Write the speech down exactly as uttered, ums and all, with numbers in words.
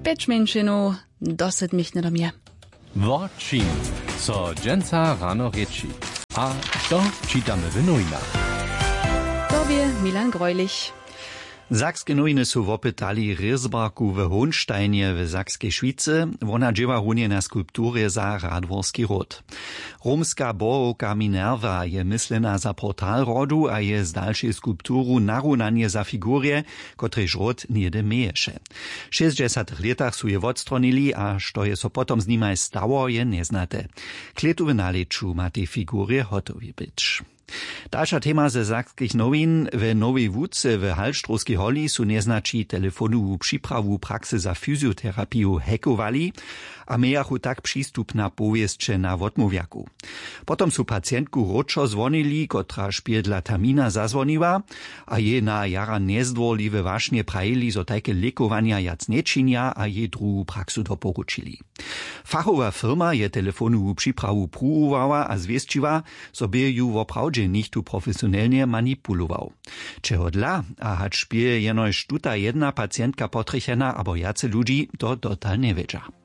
Pjeć mjeńšinow do sydmich njedomje. Wo čim so dźensa rano rěči? A što čitamy w nowinach? To bě Milan Greulich. Sakske nowiny su wopytali rězbarku w Honštajnje w Sakskej Šwicy. Wona dźěła runje na skulpturje za radworski ród. Romska bohowka Minerva je myslena za portal rodu a je z dalšej skulpturu narunanje za figurje, kotrež ród něhdy měješe. W šěsćdźesatych lětach su je wotstronili a što je so potom z nimaj stało, je njeznate. Klětu w nalěću ma tej figurje hotowi być. Dalša tema ze sakskich nowin. We nowej łuce w halštrowskej holi su njeznaći telefonowu připrawu praksy za fyzioterapiju hackowali a mějachu tak přistup na powěsće na wotmołwjaku. Potom su pacientku wróćo zwonili, kotraž bě dla termina zazwoniła, a jej na jara njezdwórliwe wašnje prajili, zo tajke lěkowanja wjac nječinja, a jej druhu praksu doporučili. Fachowa firma je telefonowu připrawu pruwowała a zwěsćiła, zo bě ju woprawdźe něchtó profesionelnje manipulował. Čehodla a hač bě jenož tuta jedna pacientka potrjechena abo wjace ludźi, to dotal njewědźa.